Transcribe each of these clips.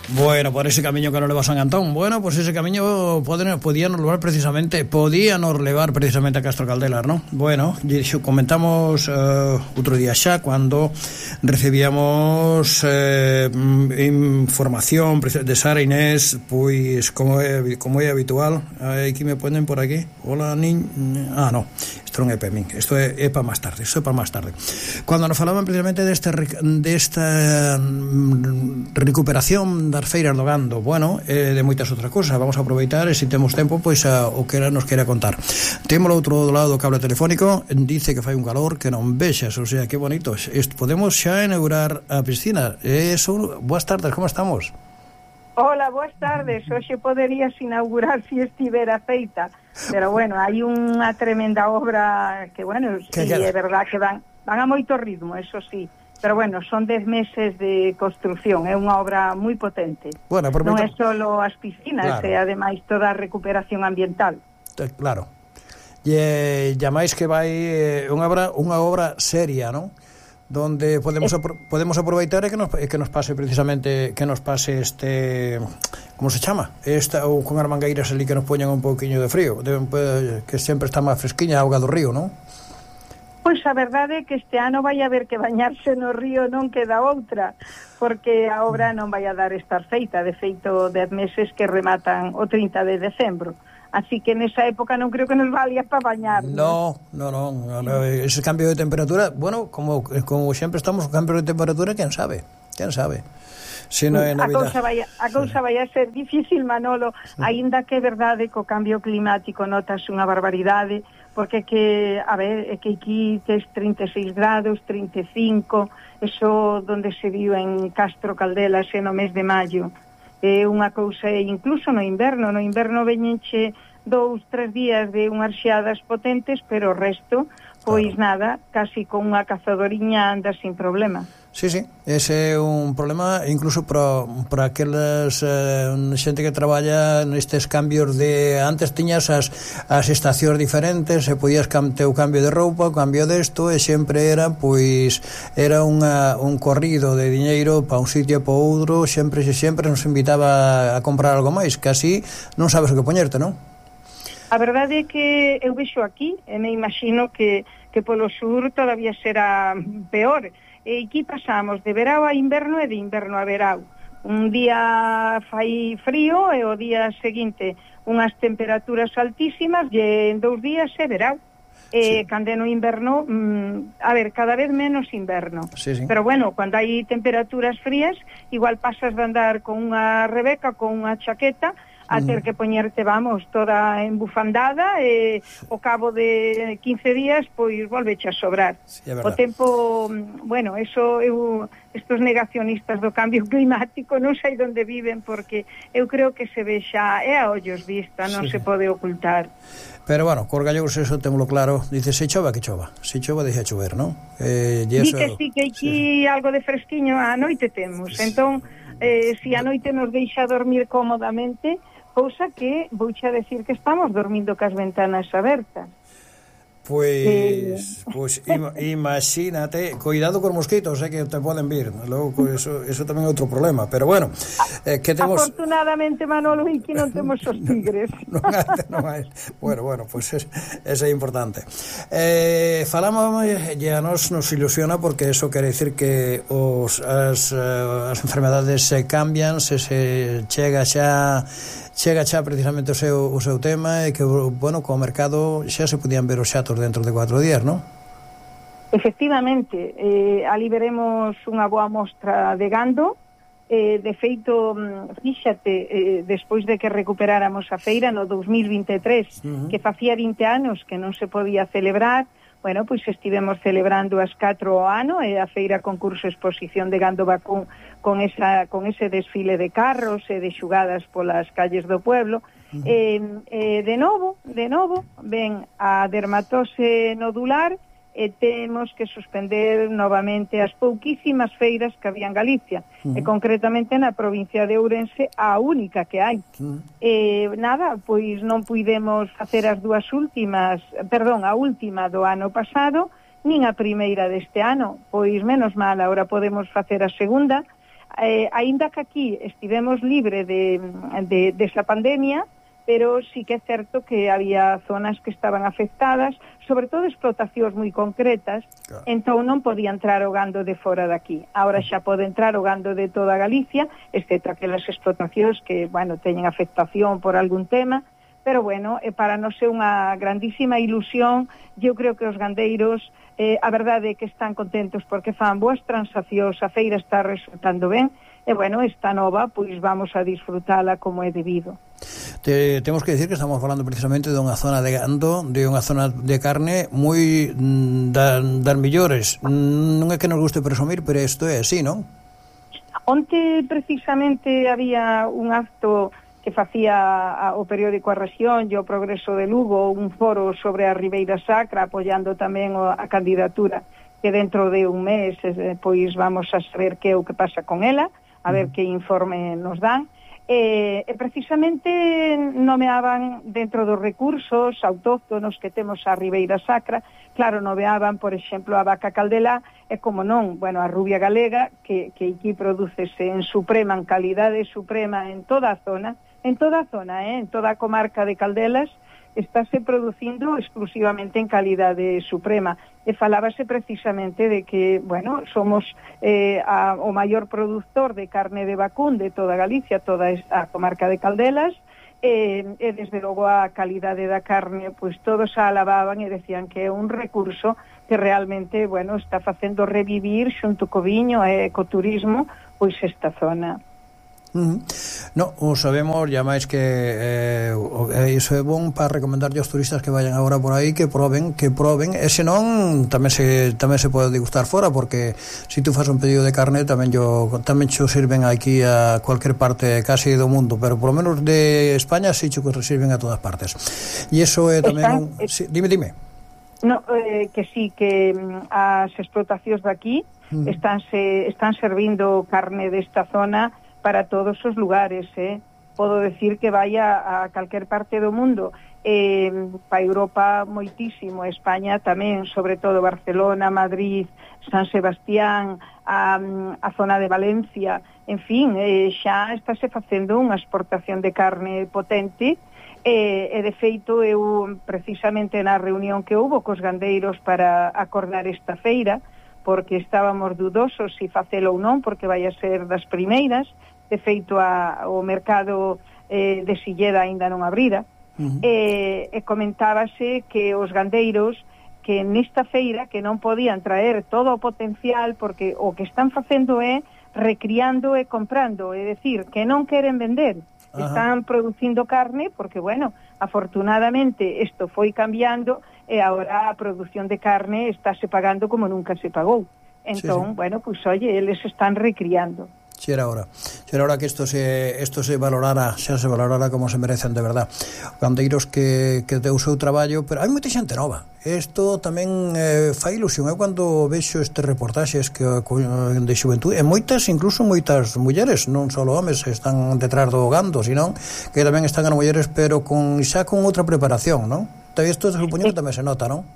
Bueno, por ese camiño que nos leva San Antón. Bueno, pues ese camiño podíanos levar precisamente a Castro Caldelas, ¿no? Bueno, comentamos outro día xa cando recibíamos información de Sara Inés, pois como é habitual. Aquí me ponen por aquí. Hola, no. Isto non é para min, isto é para máis tarde. Cando nos falaban precisamente desta recuperación das feiras do gando, bueno, de moitas outras cousas. Vamos a aproveitar e se temos tempo, pois o que nos queira contar. Temos ao outro lado do cable telefónico, dice que fai un calor que non vexas, o sea, que bonito. Podemos xa inaugurar a piscina. Boas tardes, como estamos? Hola, boas tardes. Hoxe poderías inaugurar se estivera feita, pero bueno, hai unha tremenda obra que, bueno, sí, é verdad que van a moito ritmo, eso sí, pero bueno, son 10 meses de construción, é unha obra moi potente. Bueno, non é só as piscinas, claro, é ademais toda a recuperación ambiental. Claro. E máis que vai unha obra seria, non? Donde podemos aproveitar e que nos pase precisamente como se chama? Ou con as mangueiras ali que nos poñan un pouquiño de frío, que sempre está máis fresquiña a auga do río, non? Pois a verdade é que este ano vai haber que bañarse no río, non queda outra, porque a obra non vai a dar estar feita, de feito 10 meses que rematan o 30 de decembro. Así que nesa época non creo que nos valía para bañar. No, ese cambio de temperatura, bueno, como sempre estamos con cambio de temperatura, quen sabe. Se non é Navidad. A cousa vai a ser difícil, Manolo, aínda que é verdade que o cambio climático notas unha barbaridade, porque que aquí tes 36 grados, 35, eso donde se viu en Castro Caldelas no mes de maio. É unha cousa, incluso no inverno veñenche 2-3 días de unhas xeadas potentes, pero o resto, pois nada, casi con unha cazadoriña anda sin problema. Sí, ese é un problema incluso para aquelas xente que traballa nestes cambios de... Antes tiñas as estacións diferentes e podías ter o cambio de roupa, o cambio desto, e sempre era un corrido de diñeiro para un sitio e para outro, sempre nos invitaba a comprar algo máis, que así non sabes o que poñerte, non? A verdade é que eu vexo aquí, e me imagino que polo sur todavía será peor. E aquí pasamos de verao a inverno e de inverno a verao. Un día fai frío e o día seguinte unhas temperaturas altísimas e en 2 días é verao. Cando no inverno, cada vez menos inverno. Sí. Pero bueno, cando hai temperaturas frías, igual pasas de andar con unha rebeca, con unha chaqueta, a ter que poñerte, toda embufandada e ao cabo de 15 días, pois volveche a sobrar. Sí, o tempo, bueno, estos negacionistas do cambio climático non sei onde viven, porque eu creo que se ve xa, é a ollos vista, non se pode ocultar. Pero bueno, cos gallegos eso témolo claro, dice, se chova, que chova, se chova deixa chover, non? Di que sí, que aquí algo de fresquiño a noite temos, entón, se a noite nos deixa dormir cómodamente, cousa que vouche a decir que estamos dormindo cas ventanas abertas. Pois imagínate, cuidado cos mosquitos, que te poden vir. Logo, eso tamén é outro problema, pero bueno, que temos... Afortunadamente, Manolo, aquí non temos os tigres. non hai. Bueno, pois eso é importante. Falamos, e a nos ilusiona, porque eso quere dicir que as enfermedades se cambian, se chega xa precisamente o seu tema, e que, bueno, co mercado xa se podían ver os xatos dentro de 4 días, non? Efectivamente, ali veremos unha boa mostra de gando. De feito, fíxate, despois de que recuperáramos a feira no 2023, que facía 20 anos que non se podía celebrar, bueno, pois estivemos celebrando as 4 ao ano, a feira concurso exposición de gando vacún con ese desfile de carros e de xugadas polas calles do pueblo. De novo, ven a dermatose nodular e temos que suspender novamente as pouquísimas feiras que había en Galicia, e concretamente na provincia de Ourense a única que hai. Pois non puidemos facer a última do ano pasado, nin a primeira deste ano, pois menos mal, agora podemos facer a segunda. aínda que aquí estivemos libre desa pandemia, pero sí que é certo que había zonas que estaban afectadas, sobre todo explotacións moi concretas, claro. Entón non podía entrar o gando de fora daqui. Ahora xa pode entrar o gando de toda Galicia, excepto aquelas explotacións que, bueno, teñen afectación por algún tema, pero, bueno, para non ser unha grandísima ilusión, eu creo que os gandeiros, a verdade é que están contentos porque fan boas transaccións, a feira está resultando ben, e, bueno, esta nova, pois vamos a disfrutala como é debido. Temos que decir que estamos falando precisamente de unha zona de gando, de unha zona de carne moi das millores. Non é que nos guste presumir, pero isto é así, non? Onte precisamente había un acto que facía o periódico A Rexión e o Progreso de Lugo, un foro sobre a Ribeira Sacra, apoiando tamén a candidatura, que dentro de un mes pois vamos a saber que é o que pasa con ela, a ver que informe nos dan. E precisamente nomeaban dentro dos recursos autóctonos que temos a Ribeira Sacra, claro, nomeaban, por exemplo, a vaca caldelá, e como non, bueno, a rubia galega, que aquí prodúcese en suprema, en calidade suprema en toda a zona, en toda a comarca de Caldelas, estáse producindo exclusivamente en calidade suprema. E falábase precisamente de que, bueno, somos o maior productor de carne de vacún de toda Galicia, toda a comarca de Caldelas, e desde logo a calidade da carne, pois todos a alababan e decían que é un recurso que realmente, bueno, está facendo revivir xunto co viño e ecoturismo, pois esta zona. No, o sabemos, ya máis que iso é bon para recomendarlle aos turistas que vayan agora por aí, que proben, e senón tamén se pode degustar fora, porque se tú fas un pedido de carne tamén xo sirven aquí a cualquier parte casi do mundo, pero por lo menos de España si xo que sirven a todas partes. E iso é tamén dime. No, que sí, que as explotacións de aquí están servindo carne desta zona para todos os lugares, Podo decir que vaya a calquer parte do mundo, para Europa moitísimo, España tamén, sobre todo Barcelona, Madrid, San Sebastián, a zona de Valencia, en fin, xa estáse facendo unha exportación de carne potente, e de feito eu precisamente na reunión que houbo cos gandeiros para acordar esta feira, porque estábamos dudosos se facelo ou non, porque vai a ser das primeiras. De feito o mercado de Silleda aínda non abrira, e comentábase que os gandeiros que nesta feira que non podían traer todo o potencial, porque o que están facendo é recriando e comprando, é dicir, que non queren vender, están producindo carne, porque, bueno, afortunadamente isto foi cambiando e agora a produción de carne estáse pagando como nunca se pagou. Entón, sí. Bueno, pues oye, eles están recriando. Si era hora que isto se valorara, xa se valorara como se merecen de verdad. Gandeiros que deu o seu traballo, pero hai moita xente nova. Isto tamén fai ilusión. Eu cando vexo estes reportaxes de xuventude, e moitas mulleres, non só homes están detrás do gando, sino que tamén están as mulleres, pero xa con outra preparación, non? Isto supoño que tamén se nota, non?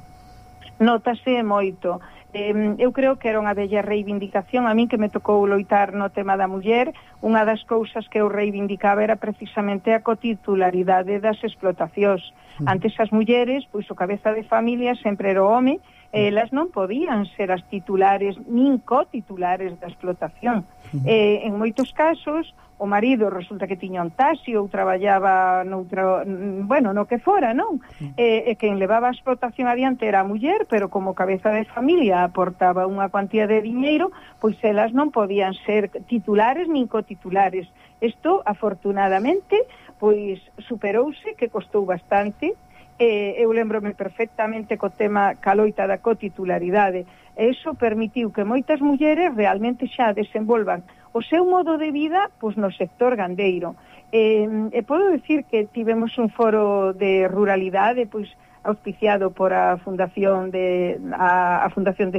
Notase moito. Eu creo que era unha bella reivindicación. A min que me tocou loitar no tema da muller, unha das cousas que eu reivindicaba era precisamente a cotitularidade das explotacións. Antes as mulleres, pois o cabeza de familia sempre era o home, e elas non podían ser as titulares nin cotitulares da explotación. En moitos casos o marido resulta que tiña un taxi ou traballaba no que fora, non? E quen levaba a explotación adiante era a muller, pero como cabeza de familia aportaba unha cuantía de diñeiro, pois elas non podían ser titulares nin cotitulares. Isto, afortunadamente, pois superouse, que costou bastante. Eu lembrome perfectamente co tema caloita da cotitularidade, e iso permitiu que moitas mulleres realmente xa desenvolvan o seu modo de vida pois no sector gandeiro. E podo decir que tivemos un foro de ruralidade pois auspiciado por a Fundación de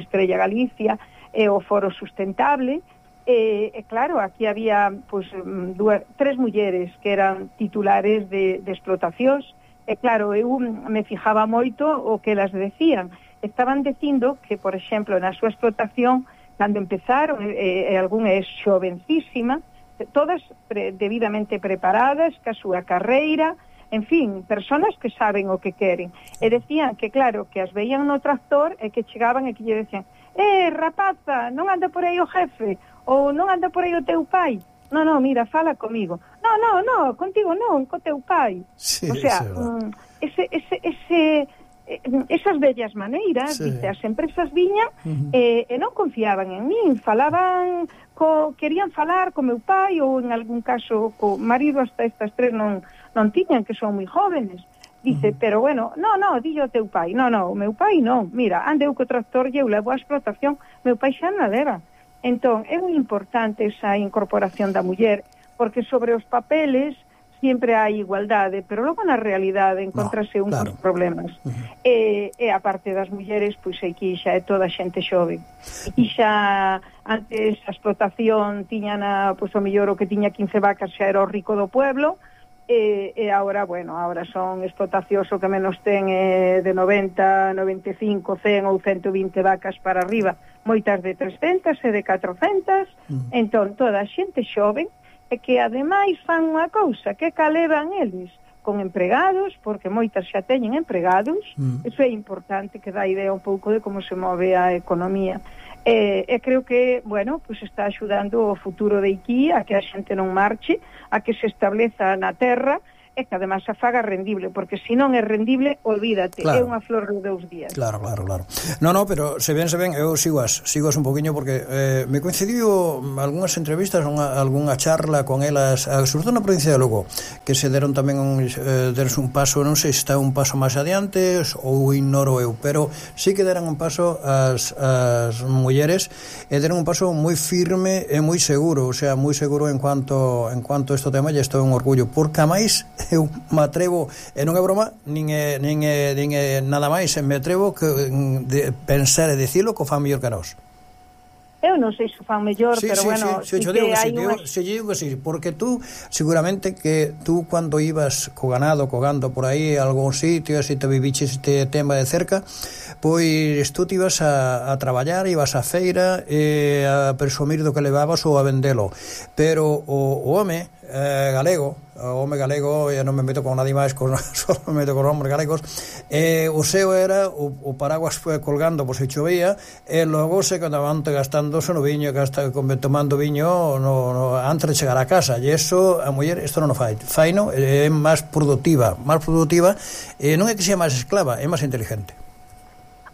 Estrella Galicia e o Foro Sustentable. E claro, aquí había pois tres mulleres que eran titulares de explotacións. E claro, eu me fijaba moito o que elas decían. Estaban dicindo que, por exemplo, na súa explotación cando empezaron, algún é xovencísima, todas debidamente preparadas, ca súa carreira, en fin, personas que saben o que queren. E decían que, claro, que as veían no tractor e que chegaban e que lle decían: rapaza, non anda por aí o jefe, ou non anda por aí o teu pai. No, mira, fala comigo. No, contigo non, co teu pai. Sí, o sea, esas bellas maneiras, sí. Dice, as empresas viñan e non confiaban en min, falaban, querían falar co meu pai, ou en algún caso co marido, hasta estas tres non tiñan, que son moi jóvenes. Dice, pero bueno, no, dillo teu pai. No, o meu pai non. Mira, andeu co tractor e eu levo a explotación, meu pai xa non leva. Entón, é moi importante esa incorporación da muller, porque sobre os papeles sempre hai igualdade, pero logo na realidade encontrase uns problemas. E a parte das mulleres, pois aquí xa é toda xente xove. E xa antes a explotación tiña pois o mellor o que tiña 15 vacas xa era o rico do pueblo, e agora, agora son explotacións o que menos ten de 90, 95, 100 ou 120 vacas para arriba, moitas de 300 e de 400, entón toda a xente xoven, e que ademais fan unha cousa, que calevan eles con empregados, porque moitas xa teñen empregados, eso é importante, que dá idea un pouco de como se move a economía. E creo que, pues está axudando o futuro de aquí a que a xente non marche, a que se estableza na terra, e que además a faga rendible, porque se non é rendible, olvídate, é unha flor de 2 días. Claro. No, pero se ven, eu sigoas un poquinho, porque me coincidiu algunhas entrevistas, algunha charla con elas, sobre todo na provincia de Lugo, que se deron tamén deron un paso, non sei se está un paso máis adiante ou ignoro eu, pero sí que deran un paso as mulleres, e deron un paso moi firme e moi seguro, o sea, moi seguro en cuanto a este tema, e isto é un orgullo, porque a máis eu me atrevo, e non é broma, nin é nada máis, me atrevo de pensar e dicilo que o fan mellor que nós. Eu non sei se fan mellor, pero sí, eu digo que sí, porque tú, seguramente que tú cando ibas co gando por aí a algún sitio, se te viviches este tema de cerca, pois tú te ibas a traballar, ibas a feira a presumir do que levabas ou a vendelo, pero o home galego, eu non me meto con nadie máis, só me meto con hombres galegos, o seu era o paraguas colgando por se chovía, e logo se quedaban gastándose no viño, tomando viño antes de chegar a casa, e eso a muller isto non o fai, faino, é máis productiva, non é que sea máis esclava, é máis inteligente.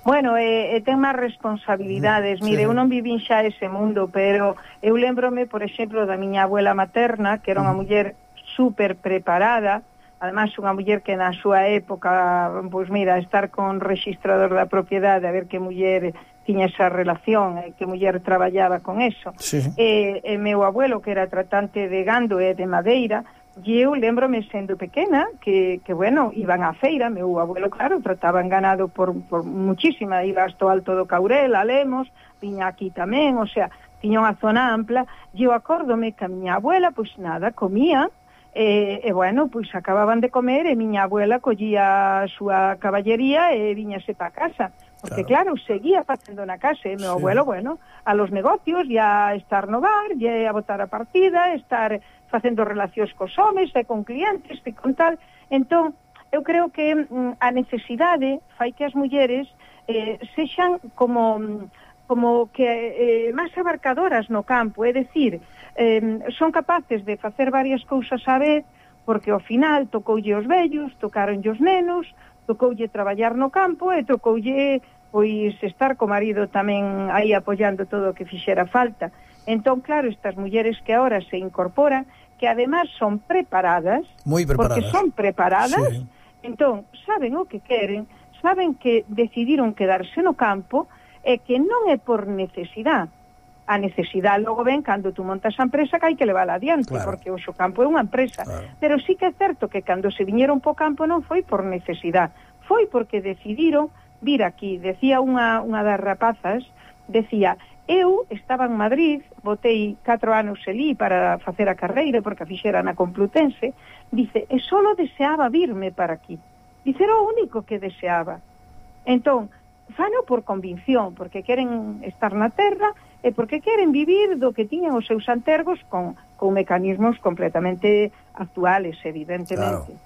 Bueno, ten máis responsabilidades. Mire, eu non vivín xa ese mundo, pero eu lembrome, por exemplo, da miña abuela materna, que era unha muller super preparada, además unha muller que na súa época, pois mira, estar con registrador da propiedade, a ver que muller tiña esa relación, que muller traballaba con eso. Sí. E meu abuelo, que era tratante de gando e de madeira, e eu lembrome sendo pequena que iban á feira, meu abuelo, claro, trataban ganado por muchísima, iba hasta o Alto do Caurel, a Lemos, viña aquí tamén, o sea, tiña unha zona ampla, e eu acórdome que a miña abuela, pois nada, comía, pois acababan de comer, e miña abuela collía a súa caballería e viñase pa casa, porque claro, seguía facendo na casa, e meu abuelo, a los negocios, e a estar no bar, e a botar a partida, estar facendo relacións cos homes e con clientes e con tal. Entón, eu creo que a necesidade fai que as mulleres sexan como que máis abarcadoras no campo, é dicir, son capaces de facer varias cousas á vez, porque ao final tocoulle os vellos, tocaronlle os nenos, tocoulle traballar no campo e tocoulle pois estar co marido tamén aí apoiando todo o que fixera falta. Entón, claro, estas mulleres que agora se incorporan, que además son preparadas, porque son preparadas, entón, saben o que queren, saben que decidiron quedarse no campo e que non é por necesidade. A necesidade logo ven cando tú montas a empresa que hai que levar adiante, porque o campo é unha empresa. Pero sí que é certo que cando se viñeron po campo non foi por necesidade, foi porque decidiron vir aquí. Decía unha das rapazas, decía, eu estaba en Madrid, botei 4 anos elí para facer a carreira, porque a fixera na Complutense, dice, e solo deseaba virme para aquí. Dice, era o único que deseaba. Entón, fano por convicción, porque queren estar na terra porque queren vivir do que tiñan os seus antergos con mecanismos completamente actuales, evidentemente.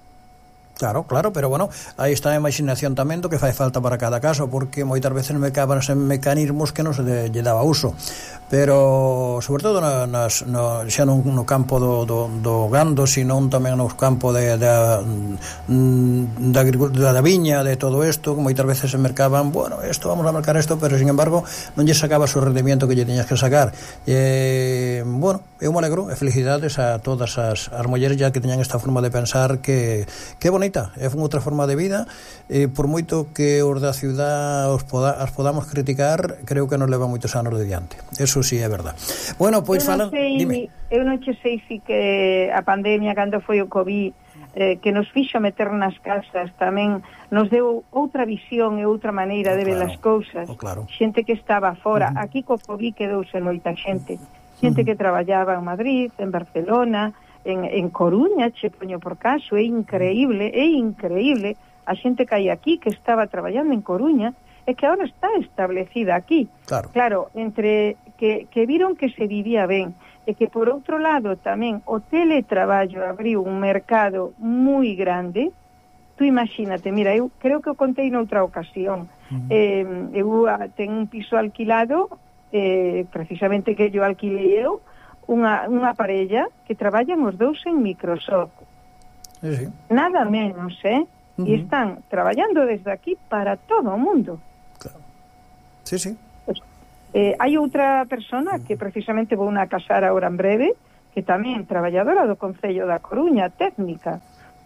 Claro, pero bueno, aí está a imaginación tamén do que fai falta para cada caso, porque moitas veces me caban en mecanismos que non se lle daba uso, pero sobre todo xa non no campo do gando, sino tamén no campo da agricultura, da viña, de todo isto, que moitas veces se mercaban, bueno, vamos a mercar isto, pero sin embargo non lle sacabas o rendimiento que lle tiñas que sacar. Bueno, eu me alegro, e felicidades a todas as mulleres ya que teñan esta forma de pensar que bonita, é outra forma de vida, por moito que os da ciudad as podamos criticar, creo que nos leva moitos anos de diante, eso sí é verdad. Bueno, pois dime. Eu non che sei si que a pandemia, cando foi o COVID, que nos fixo meter nas casas, tamén nos deu outra visión e outra maneira de ver as cousas. Xente que estaba fora, aquí co COVID quedouse moita xente que traballaba en Madrid, en Barcelona, en Coruña, che poño por caso, é increíble a xente que hai aquí que estaba traballando en Coruña e que agora está establecida aquí. Claro, entre que viron que se vivía ben e que por outro lado tamén o teletraballo abriu un mercado moi grande. Tú imagínate, mira, eu creo que o contei noutra ocasión, eu tengo un piso alquilado, precisamente que yo alquilei eu, unha parella que traballan os dous en Microsoft. Nada menos, e están traballando desde aquí para todo o mundo. Hai outra persona que precisamente vou a casar agora en breve, que tamén traballadora do Concello da Coruña, técnica,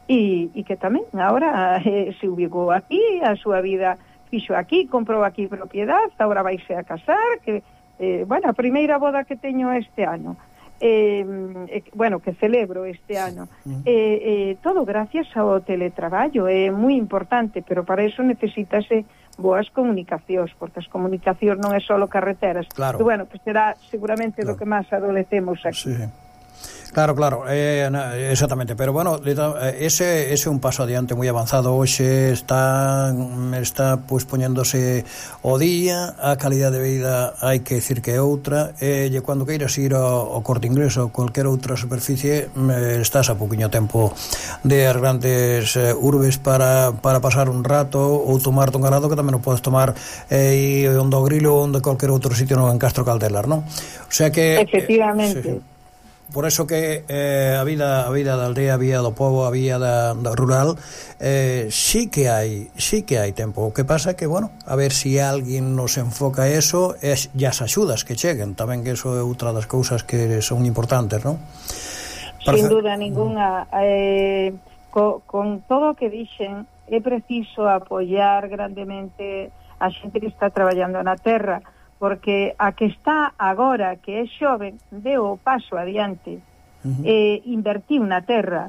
e que tamén agora se ubicou aquí, a súa vida fixo aquí, comprou aquí propiedade, agora vaise a casar, que a primeira boda que teño este ano, que celebro este ano, todo gracias ao teletraballo. É moi importante, pero para eso necesitase boas comunicacións, porque as comunicacións non é só carreteras, que será seguramente do que máis adolecemos aquí. Claro, exactamente, pero bueno, ese é un paso adiante moi avanzado. Hoxe está pois poñéndose o día, a calidade de vida hai que decir que é outra, e cando queiras ir ao Corte Inglés ou cualquier outra superficie, estás a pouquiño tempo de as grandes urbes para pasar un rato ou tomarte un galado, que tamén o podes tomar onde o Grilo ou onde cualquier outro sitio en Castro Caldelas, non? O sea que efectivamente. Por eso que a vida da aldea, a vida do povo, a vida da rural, sí que hai tempo. O que pasa é que, bueno, a ver se alguén nos enfoca eso, e as axudas que cheguen tamén, que eso é outra das cousas que son importantes, non? Sin duda ninguna. Con todo o que dixen, é preciso apoiar grandemente a xente que está traballando na terra, porque a que está agora, que é xoven, deu o paso adiante, invertiu na terra,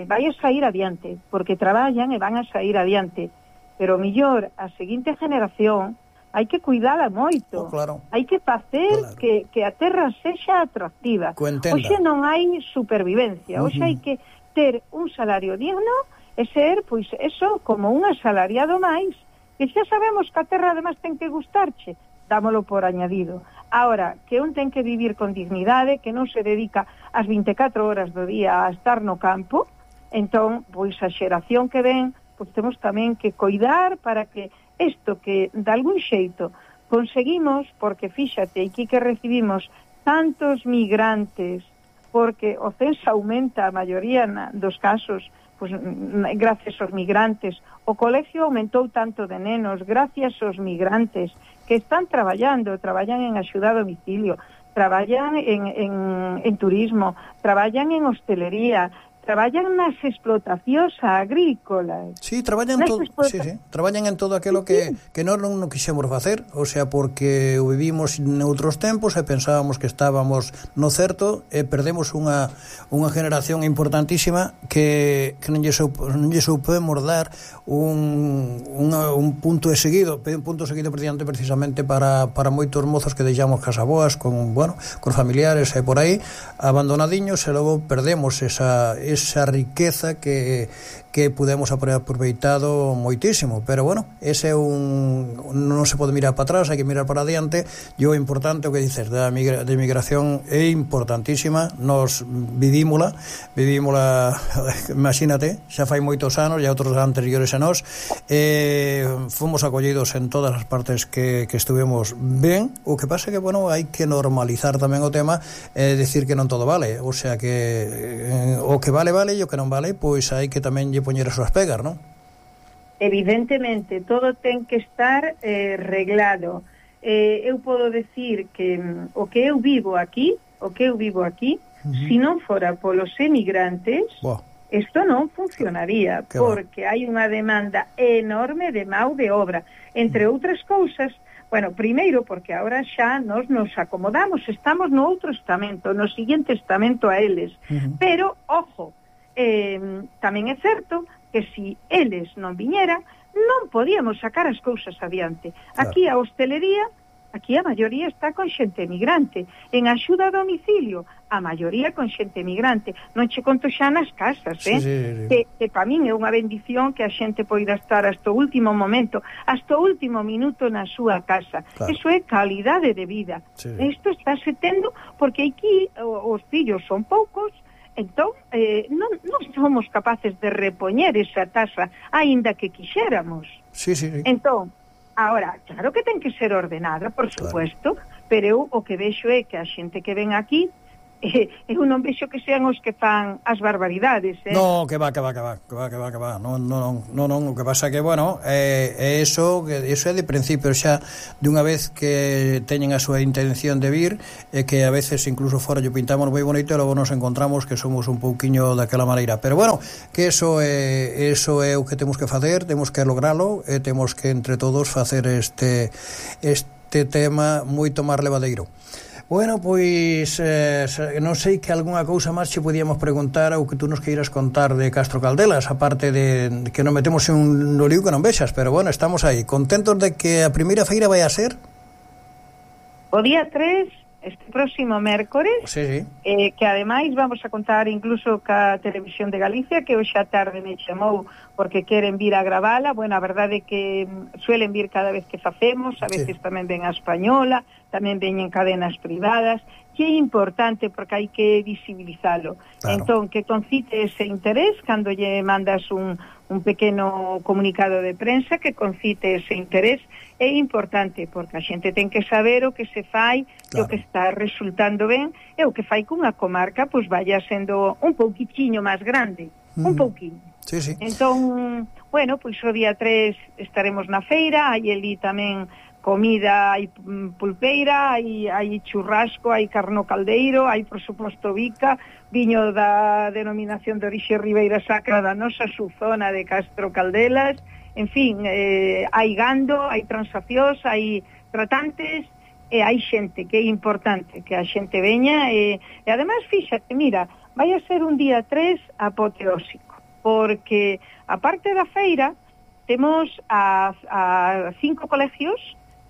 vai a sair adiante, porque traballan e van a sair adiante, pero mellor a seguinte generación hai que cuidala moito, hai que facer que a terra sexa atractiva. Hoxe non hai supervivencia, hoxe hai que ter un salario digno e ser, pois, eso, como un asalariado máis, que xa sabemos que a terra además ten que gustarche, dámolo por añadido. Ahora, que un ten que vivir con dignidade, que non se dedica as 24 horas do día a estar no campo, entón, pois a xeración que ven, pois temos tamén que coidar para que isto que, de algún xeito, conseguimos, porque fíxate, aquí que recibimos tantos migrantes, porque o censo aumenta a maioría dos casos, pois, gracias aos migrantes. O colegio aumentou tanto de nenos gracias aos migrantes que están traballan en axuda a domicilio, traballan en turismo, traballan en hostelería, traballan nas explotacións agrícolas. Sí, traballan traballan en todo aquilo que nós non quixemos facer, o sea, porque o vivimos noutros tempos e pensábamos que estábamos no certo e perdemos unha generación importantísima que non lle soupemos dar un punto seguido precisamente para moitos mozos que deixamos casaboas con familiares e por aí abandonadiños, e logo perdemos esa esa riqueza que pudemos aproveitado moitísimo, pero bueno, ese é non se pode mirar para atrás, hai que mirar para adiante, e o importante, o que dices da migración é importantísima, nos vivímola, imagínate, xa fai moitos anos, e outros anteriores a nós, fomos acollidos en todas as partes que estuvemos ben, o que pasa que, bueno, hai que normalizar tamén o tema, decir que non todo vale, o sea que o que vale, e o que non vale, pois hai que tamén lle poñer as súas pegas, non? Evidentemente, todo ten que estar reglado. Eu podo decir que o que eu vivo aquí, se non fora polos emigrantes, isto non funcionaría, porque hai unha demanda enorme de mão de obra, entre outras cousas. Bueno, primeiro, porque agora xa nos acomodamos, estamos no outro estamento, no seguinte estamento a eles, pero, ojo, tamén é certo que se eles non viñeran, non podíamos sacar as cousas adiante. Aquí a hostelería, aquí a maioría está con xente emigrante. En axuda a domicilio, a maioría con xente emigrante. Non che conto xa nas casas, sí. Que para min é unha bendición que a xente poida estar hasta o último momento, hasta o último minuto na súa casa. Eso é calidade de vida. Isto está se tendo porque aquí os fillos son poucos. Entón, non somos capaces de repoñer esa taxa, aínda que quixéramos. Sí. Entón, agora, claro que ten que ser ordenada, por supuesto, pero eu o que vexo é que a xente que ven aquí, eu non vexo que sean os que fan as barbaridades, No, que va. Non, o que pasa que, bueno, eso é de principio, xa de unha vez que teñen a súa intención de vir, que a veces incluso fora yo pintamos moi bonito e logo nos encontramos que somos un pouquiño daquela maneira, pero bueno, que eso é o que temos que facer, temos que logralo e temos que entre todos facer este tema moito máis levadeiro. Bueno, pois non sei que algunha cousa máis che podíamos preguntar ou que tú nos queiras contar de Castro Caldelas, aparte de que nos metemos en un lío que non vexas, pero bueno, estamos aí, contentos de que a primeira feira vai a ser o día 3, este próximo mércores, que ademais vamos a contar incluso ca Televisión de Galicia, que hoxe a tarde me chamou porque queren vir a gravala. Bueno, a verdade é que suelen vir cada vez que facemos, a veces tamén ven a Española, tamén veñen cadenas privadas, que é importante porque hai que visibilizalo. Entón, que concite ese interés cando lle mandas un pequeno comunicado de prensa, que concite ese interés, é importante porque a xente ten que saber o que se fai, o que está resultando ben, e o que fai cunha comarca pois vaya sendo un pouquichiño máis grande, un pouquiño. Entón, bueno, pois o día 3 estaremos na feira, hai ali tamén comida, hai pulpeira, hai churrasco, hai carno caldeiro, hai, por suposto, bica, viño da denominación de orixe Ribeira Sacra da nosa subzona de Castro Caldelas, en fin, hai gando, hai transaccións, hai tratantes, e hai xente, que é importante que a xente veña, e además, fíxate, mira, vai a ser un día 3 apoteósico, porque, a parte da feira, temos a 5 colegios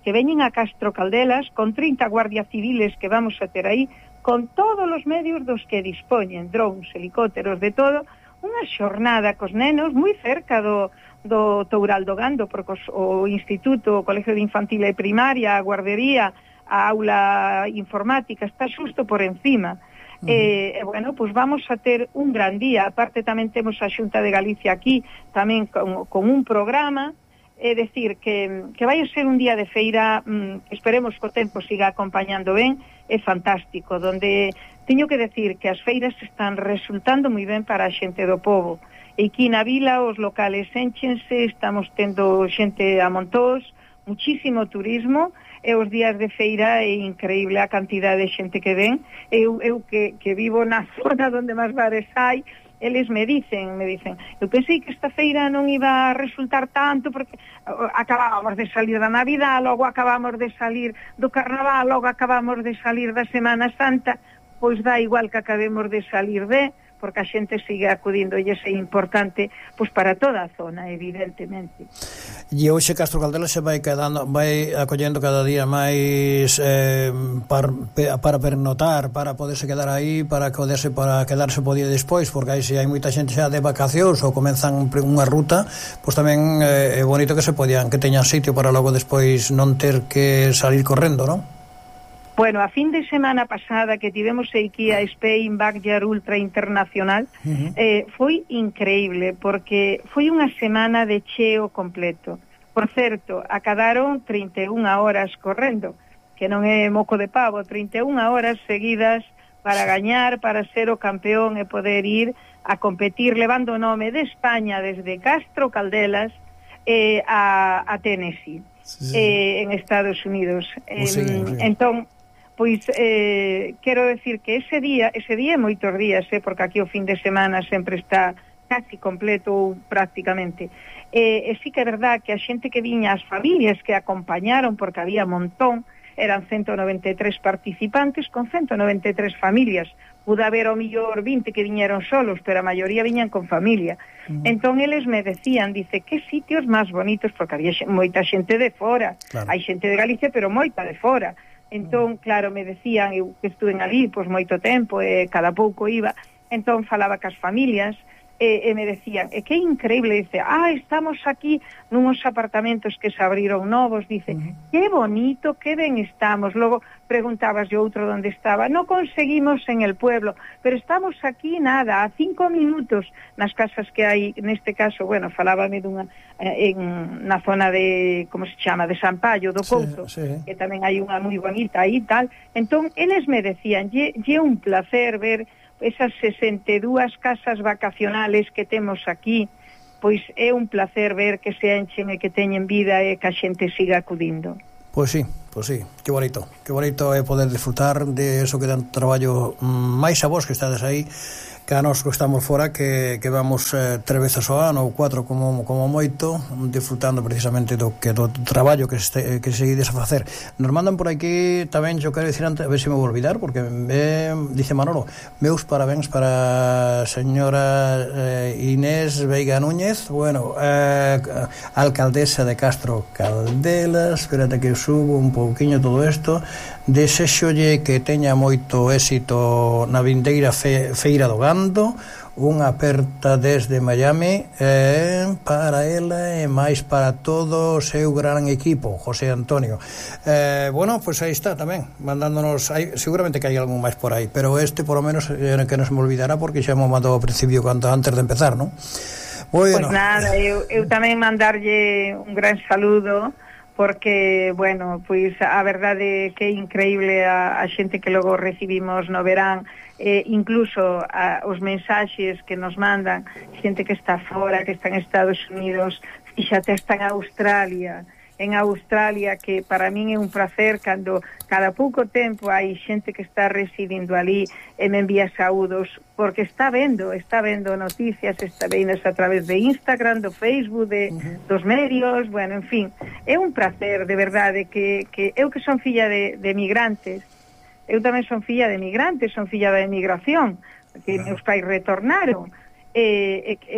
que veñen a Castro Caldelas con 30 guardias civiles que vamos a ter aí, con todos os medios dos que dispoñen, drones, helicópteros, de todo, unha xornada cos nenos moi cerca do Toural do Gando, porque o Instituto, o Colegio de Infantil e Primaria, a guardería, a aula informática, está xusto por encima. Bueno, pois vamos a ter un gran día. Aparte tamén temos a Xunta de Galicia aquí, tamén con un programa, é dicir, que vai a ser un día de feira, esperemos que o tempo siga acompañando ben, é fantástico, donde teño que decir que as feiras están resultando moi ben para a xente do povo. E aquí na vila os locales énchense, estamos tendo xente a montós, muchísimo turismo, e os días de feira é increíble a cantidad de xente que ven. Eu que vivo na zona onde máis bares hai, eles me dicen, eu pensei que esta feira non iba a resultar tanto porque acabábamos de salir da Navidad, logo acabamos de salir do Carnaval, logo acabamos de salir da Semana Santa, pois dá igual que acabemos de salir porque a xente sigue acudindo e é importante pois para toda a zona, evidentemente. E hoxe Castro Caldelas se vai acollendo cada día máis para pernotar, para poderse quedar aí, para quedarse po día despois, porque aí se hai moita xente xa de vacacións ou comenzan unha ruta, pois tamén é bonito que teñan sitio para logo despois non ter que salir correndo, non? Bueno, a fin de semana pasada que tivemos aquí a Spain Backyard Ultra Internacional, foi increíble, porque foi unha semana de cheo completo. Por certo, acadaron 31 horas correndo, que non é moco de pavo, 31 horas seguidas para gañar, para ser o campeón e poder ir a competir levando o nome de España desde Castro Caldelas a Tennessee, en Estados Unidos. Entón, pois quero decir que ese día e moitos días, porque aquí o fin de semana sempre está casi completo ou prácticamente, e sí que é verdad que a xente que viña, as familias que acompañaron, porque había montón, eran 193 participantes con 193 familias. Pude haber ao millor 20 que viñeron solos, pero a maioría viñan con familia. Entón eles me decían, dice, que sitios máis bonitos, porque había moita xente de fora, hai xente de Galicia, pero moita de fora. Entón, claro, me decían, eu que estuve ali pois moito tempo, cada pouco iba, entón falaba cas familias, e me decían, que increíble, dice, estamos aquí nunos apartamentos que se abriron novos, dice, que bonito, que ben estamos. Logo preguntabas yo outro onde estaba, no conseguimos en el pueblo, pero estamos aquí nada, a 5 minutos nas casas que hai, neste caso, bueno, falábame dunha na zona de, como se chama, de San Pallo, do Couto, que tamén hai unha moi bonita aí tal. Entón, eles me decían, lle un placer ver esas 62 casas vacacionales que temos aquí, pois é un placer ver que se enchen e que teñen vida e que a xente siga acudindo. Pois sí, que bonito é poder disfrutar de eso que dan traballo máis a vos que estades aí, que a nos que estamos fora, que vamos 3 veces ao ano ou 4 como moito, disfrutando precisamente do traballo que seguides a facer. Nos mandan por aquí tamén, yo quero dicir antes, a ver se me vou olvidar, porque dice Manolo, meus parabéns para a señora Inés Veiga Núñez, bueno, alcaldesa de Castro Caldelas. Espérate que subo un pouquiño todo isto. Desexolle que teña moito éxito na vindeira feira do Gando, unha aperta desde Miami para ela e máis para todo o seu gran equipo, José Antonio. Bueno, pois aí está tamén, mandándonos, seguramente que hai algún máis por aí, pero por lo menos que non se me olvidará, porque xa me mandou ao principio antes de empezar, non? Bueno. Pois nada, eu tamén mandarlle un gran saludo, porque, bueno, pois a verdade que é increíble a xente que logo recibimos no verán, incluso os mensaxes que nos mandan, xente que está fora, que está en Estados Unidos, fíxate, está en Australia, que para min é un placer cando cada pouco tempo hai xente que está residindo ali e me envía saúdos, porque está vendo noticias, está vendo a través de Instagram, do Facebook, dos medios, bueno, en fin, é un placer, de verdade, que eu que son filla de migrantes, eu tamén son filla de migrantes, son filla da emigración, que meus pais retornaron,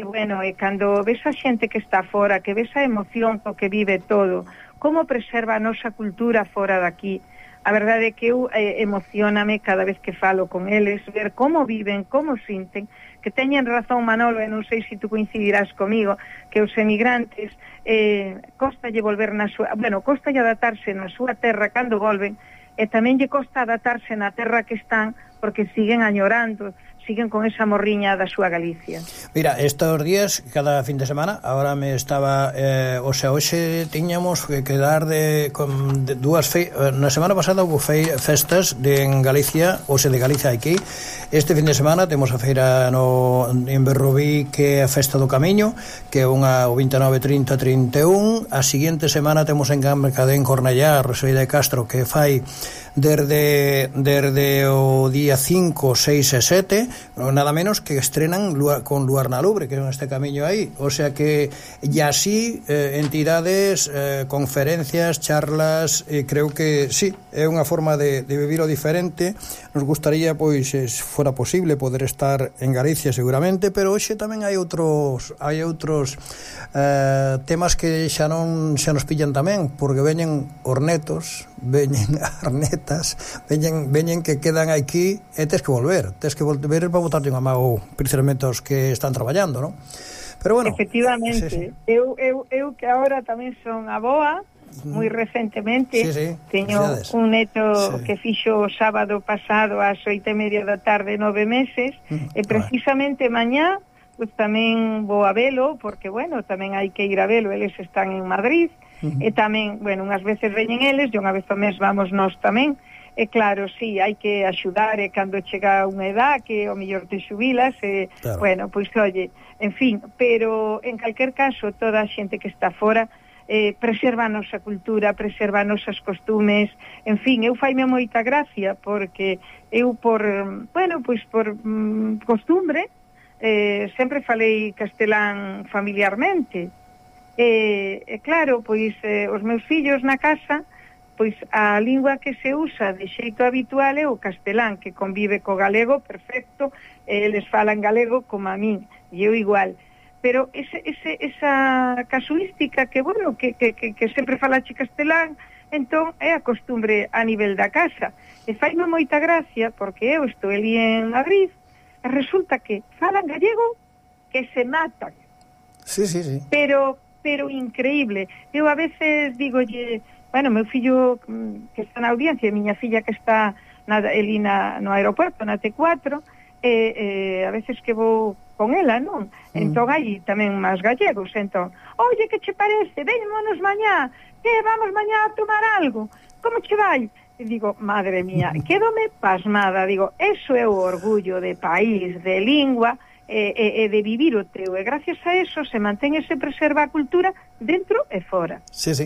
bueno, cando ves a xente que está fora, que ves a emoción co que vive todo, como preserva a nosa cultura fora daqui, a verdade é que eu emocioname cada vez que falo con eles, ver como viven, como sinten, que teñen razón Manolo, e non sei se tú coincidirás comigo, que os emigrantes costalle volver costalle adaptarse na súa terra cando volven, e tamén lle costa adaptarse na terra que están, porque siguen añorando, siguen con esa morriña da súa Galicia. Mira, estes días, cada fin de semana, agora me estaba, hoxe tiñamos que dar de dúas na semana pasada houve festas en Galicia, de Galicia aquí. Este fin de semana temos a feira en Berrobí, que é a Festa do Camiño, que é o 29, 30, 31. A seguinte semana temos en Cambercadén, Cornellá, Rosalía de Castro, que fai desde o día 5, 6 e 7, nada menos que estrenan con Luar na Lubre, que é este camiño aí, o sea que e así entidades, conferencias, charlas, creo que sí, é unha forma de vivir o diferente. Nos gustaría, pois, se fora posible poder estar en Galicia seguramente, pero hoxe tamén hai outros temas que xa nos pillan tamén, porque veñen os netos, veñen as netas, veñen que quedan aquí e tes que volver para botarte unha mão precisamente aos que están traballando, non? Pero bueno, efectivamente, sí. Eu que agora tamén son aboa, moi recentemente, teño un neto que fixo o sábado pasado ás 8:30 da tarde 9 meses, e precisamente mañá pues tamén vou a velo, porque, bueno, tamén hai que ir a velo, eles están en Madrid, e tamén, bueno, unhas veces veñen eles, e unha vez ao mes vamos nós tamén, e claro, sí, hai que axudar, e cando chega unha edad que o mellor te xubilas, e, claro. Bueno, pois, oye, en fin, pero en calquer caso, toda a xente que está fora, preserva a nosa cultura, preserva os nosos costumes, en fin, eu faime moita gracia, porque eu por costumbre, sempre falei castelán familiarmente, e claro, pois os meus fillos na casa, pois a lingua que se usa de xeito habitual é o castelán, que convive co galego perfecto, eles falan galego como a min, e eu igual, pero esa casuística que, bueno, que sempre falache castelán, entón é a costumbre a nivel da casa, e faime moita gracia, porque eu estou ali en Madrid, resulta que falan gallego que se matan. Sí. Pero increíble. Eu a veces digolle, bueno, meu fillo que está na audiencia, miña filla que está ali no aeropuerto, na T4, a veces que vou con ela, non? Entón hai tamén máis gallegos, entón, oye, que che parece? Vémonos mañá, vamos mañá a tomar algo, como che vai? E digo, madre mía, quédome pasmada, digo, eso é o orgullo de país, de lingua, e de vivir o teu, e gracias a eso se mantén e se preserva a cultura dentro e fora. Sí.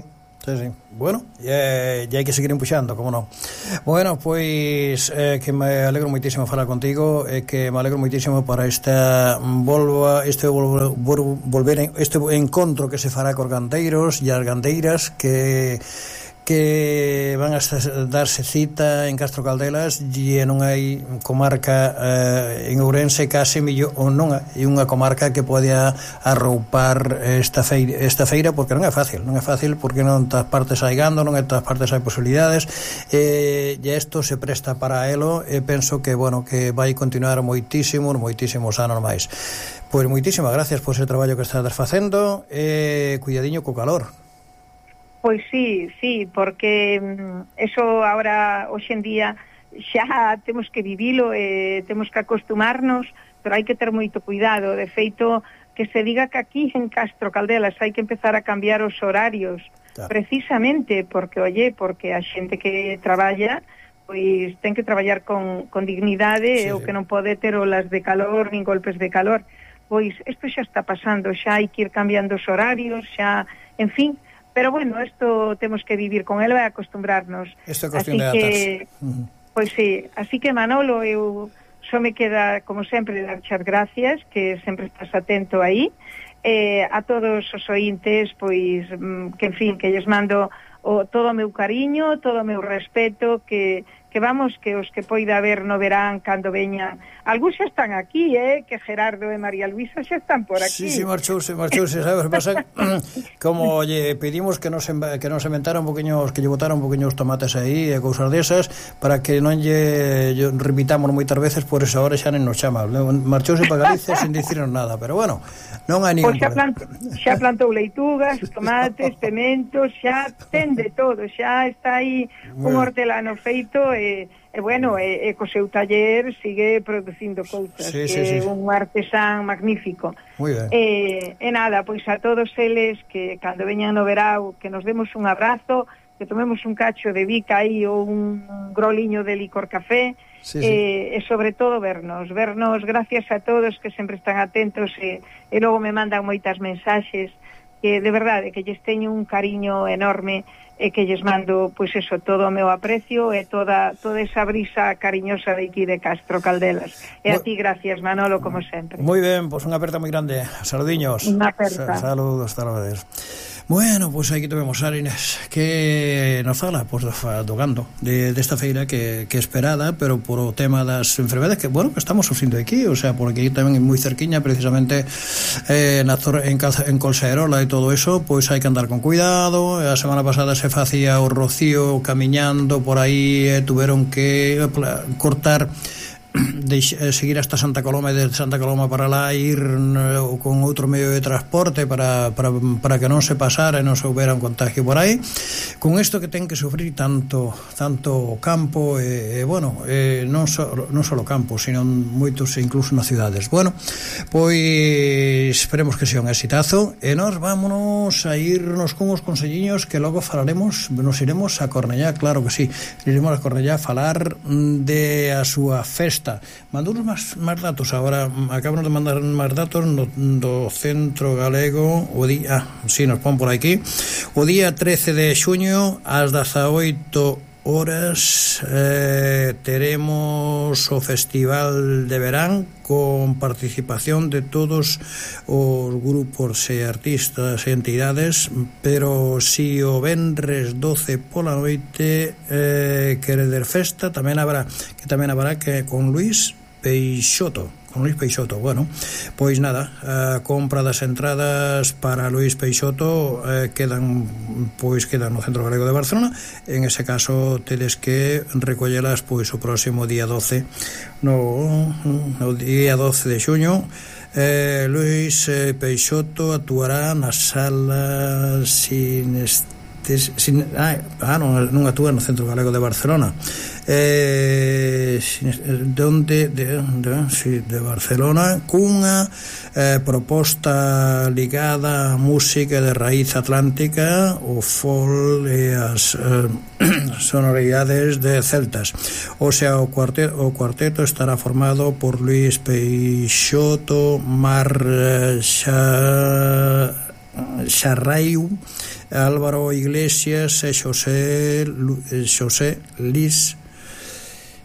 Bueno, e hai que seguir empuxando, como non. Bueno, pois que me alegro moitísimo falar contigo, e que me alegro moitísimo para este encontro que se fará cos gandeiros e as gandeiras que van a darse cita en Castro Caldelas, e non hai comarca en Ourense case millón, ou non hai unha comarca que poda arroupar esta feira, porque non é fácil porque non en todas partes hai gando, non en todas partes hai posibilidades, e isto se presta para elo, e penso que, bueno, que vai continuar moitísimos anos máis. Pois moitísimas gracias por ese traballo que estás facendo, e cuidadiño co calor. Pois sí, porque eso ahora, hoxe en día, xa temos que vivilo, temos que acostumarnos, pero hai que ter moito cuidado. De feito, que se diga que aquí en Castro Caldelas hai que empezar a cambiar os horarios, claro. Precisamente porque a xente que traballa, pois ten que traballar con dignidade, o que non pode ter olas de calor, nin golpes de calor. Pois isto xa está pasando, xa hai que ir cambiando os horarios, xa, en fin. Pero bueno, isto temos que vivir con ela e acostumbrarnos. Isto é cuestión de adaptarse. Pois sí, así que Manolo, eu só me queda, como sempre, dar as gracias, que sempre estás atento aí, a todos os ointes, pois, que en fin, que lles mando todo o meu cariño, todo o meu respeto, que vamos, que os que poida haber no verán cando veñan. Algúns xa están aquí, que Gerardo e María Luisa xa están por aquí. Sí, marchouse, sabes, pasa como lle pedimos que nos inventara un poquinho, que lle botara un poquinho os tomates aí e cousas desas, para que non lle repitamos moitas veces, por esa hora xa non nos chama. Marchouse para Galicia sin dicirnos nada, pero bueno, non hai ningún problema. Xa plantou leitugas, tomates, pementos, xa ten de todo, xa está aí un hortelano feito, e bueno, co seu taller sigue producindo cousas, que é un artesán magnífico. Muy ben. E nada, pois a todos eles que cando veñan no verao, que nos demos un abrazo, que tomemos un cacho de bica aí ou un groliño de licor café, e sobre todo vernos, gracias a todos que sempre están atentos, e logo me mandan moitas mensaxes, que de verdade que lles teño un cariño enorme, e que lles mando, pois eso, todo o meu aprecio e toda esa brisa cariñosa de aquí de Castro Caldelas. E a ti, gracias, Manolo, como sempre. Moi ben, pois unha aperta moi grande. Saludiños. Unha aperta. Saludos, saludos. Bueno, pois aquí temos a Inés que nos fala do gando desta feira que esperada, pero por o tema das enfermedades que, bueno, que estamos sufrindo aquí, o sea, porque aquí tamén é moi cerquiña, precisamente en Colserola e todo eso, pois hai que andar con cuidado. A semana pasada se facía o rocío camiñando por aí, tuveron que cortar seguir hasta Santa Coloma e de Santa Coloma para lá ir con outro medio de transporte para que non se pasara e non se houbera un contagio por aí. Con isto que ten que sufrir tanto o campo bueno, non só o campo, sino moitos incluso nas cidades. Bueno, pois esperemos que sea un exitazo e nós vámonos a irnos con os conselliños que logo falaremos, nos iremos a Cornellá, claro que sí, iremos a Cornellá a falar de a súa festa. Mandounos máis datos agora, acabamos de mandar máis datos do Centro Galego o día, si nos pon por aquí, o día 13 de xuño ás 18 horas teremos o Festival de Verán con participación de todos os grupos e artistas e entidades, pero si o venres 12 pola noite querer festa tamén habrá que con Luis Peixoto. Bueno, pois nada, a compra das entradas para Luis Peixoto quedan no Centro Galego de Barcelona. En ese caso tedes que recollelas pois o próximo día 12 no día 12 de xuño. Luis Peixoto actuará na sala non actúa no Centro Galego de Barcelona, de Barcelona, cunha proposta ligada á música de raíz atlántica, o folk e as sonoridades de celtas. O sea, o cuarteto estará formado por Luis Peixoto, Mar Xarraiu, Álvaro Iglesias e Xosé Lis,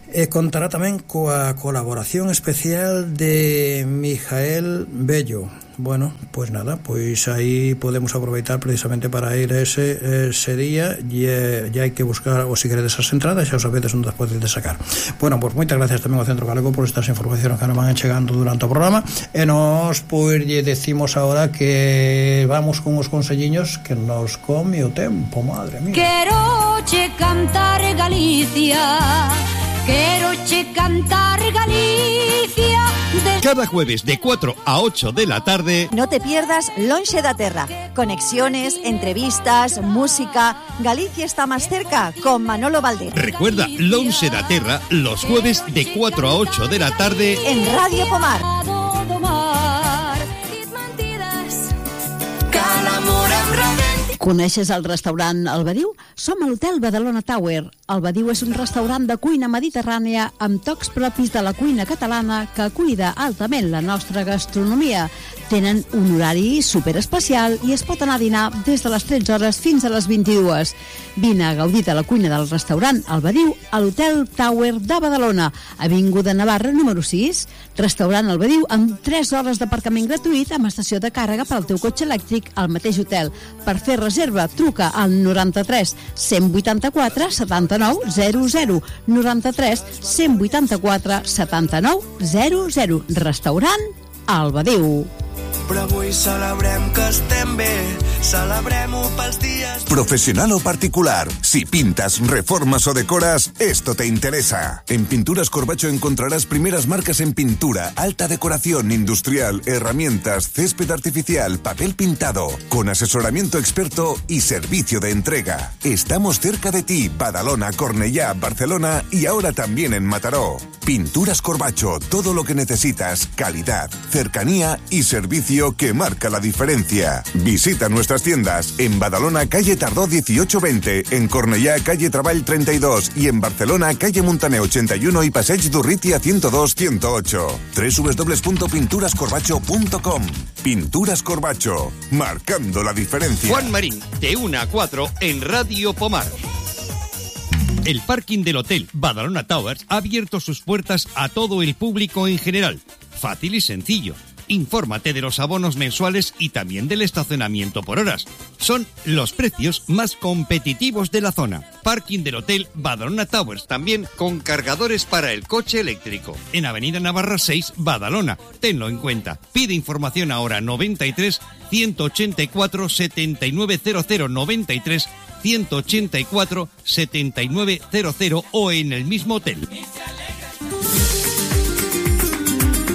e contará tamén coa colaboración especial de Mijael Bello. Bueno, pois nada, pois aí podemos aproveitar precisamente para ir ese día e hai que buscar, ou se queredes as entradas, xa os sabedes onde as podedes sacar. Bueno, pois moitas gracias tamén ao Centro Galego por estas informacións que nos van chegando durante o programa, e nos pois lle decimos agora que vamos con os conselliños que nos come o tempo, madre mía. Quero che cantar Galicia, quero che cantar Galicia. Cada jueves de 4 a 8 de la tarde. No te pierdas Lonxe da Terra. Conexiones, entrevistas, música. Galicia está más cerca con Manolo Valdés. Recuerda Lonxe da Terra los jueves de 4 a 8 de la tarde en Radio Pomar. Coneixes el restaurant El Badiu? Som a l'Hotel Badalona Tower. El Badiu és un restaurant de cuina mediterrània amb tocs propis de la cuina catalana que cuida altament la nostra gastronomia. Tenen un horari superespecial i es pot anar a dinar des de les 13 hores fins a les 22. Vine a gaudir de la cuina del restaurant El Badiu a l'Hotel Tower de Badalona, Avinguda Navarra número 6. Restaurant El Badiu amb 3 hores d'aparcament gratuït amb estació de càrrega per al teu cotxe elèctric al mateix hotel. Per fer reserva, truca al 93 184 79 00. 93 184 79 00. Restaurant El Badiu. Però avui celebrem que estem bé, celebrem-ho pels dies... Profesional o particular, si pintas, reformas o decoras, esto te interesa. En Pinturas Corbacho encontrarás primeras marcas en pintura, alta decoración industrial, herramientas, césped artificial, papel pintado, con asesoramiento experto y servicio de entrega. Estamos cerca de ti, Badalona, Cornellá, Barcelona y ahora también en Mataró. Pinturas Corbacho, todo lo que necesitas, calidad, cercanía y servicio servicio que marca la diferencia. Visita nuestras tiendas en Badalona, calle Tardó 1820, en Cornellá, calle Traball 32 y en Barcelona, calle Montaner 81 y Passeig d'Urrutia 102-108. www.pinturascorbacho.com. Pinturas Corbacho, marcando la diferencia. Juan Marín, de 1 a 4 en Radio Pomar. El parking del Hotel Badalona Towers ha abierto sus puertas a todo el público en general. Fácil y sencillo. Infórmate de los abonos mensuales y también del estacionamiento por horas. Son los precios más competitivos de la zona. Parking del Hotel Badalona Towers, también con cargadores para el coche eléctrico. En Avenida Navarra 6, Badalona. Tenlo en cuenta. Pide información ahora 93 184 7900 93 184 7900 o en el mismo hotel.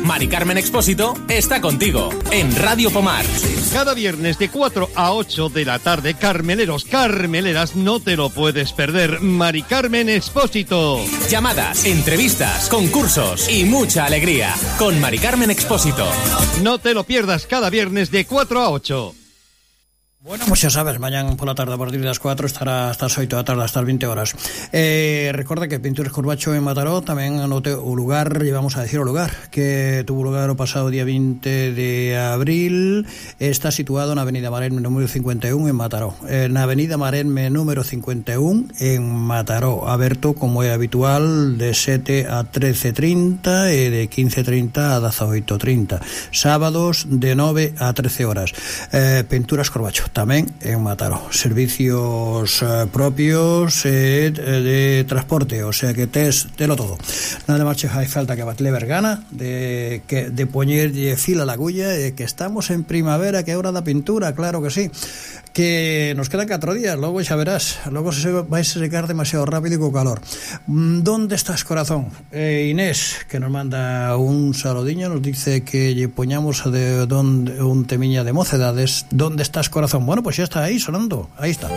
Mari Carmen Expósito está contigo en Radio Pomar. Cada viernes de 4 a 8 de la tarde, carmeleros, carmeleras, no te lo puedes perder. Mari Carmen Expósito. Llamadas, entrevistas, concursos y mucha alegría con Mari Carmen Expósito. No te lo pierdas cada viernes de 4 a 8. Bueno, pues ya sabes, mañana por la tarde a partir de las 4 estará hasta las 8 de la tarde, hasta las 20 horas. Recuerda que Pinturas Corbacho en Mataró también anote un lugar, llevamos a decir un lugar, que tuvo lugar el pasado día 20 de abril. Está situado en Avenida Marenme número 51 en Mataró. En Avenida Marenme número 51 en Mataró. Abierto, como es habitual, de 7 a 13:30 y de 15:30 a 18:30. Sábados de 9 a 13 horas. Pinturas Corbacho. Tamén en Mataró, servicios propios de transporte, o sea que telo todo. Nada máis hai falta que batle vergana de poñer fila a la agulla, que estamos en primavera, que é hora da pintura, claro que sí, que nos quedan 4 días, logo xa verás, logo se vai secar demasiado rápido e co calor. ¿Dónde estás, corazón? Inés, que nos manda un saludiño, nos dice que lle poñamos un temiña de mocedades. ¿Dónde estás, corazón? Bueno, pues ya está ahí sonando, ahí está.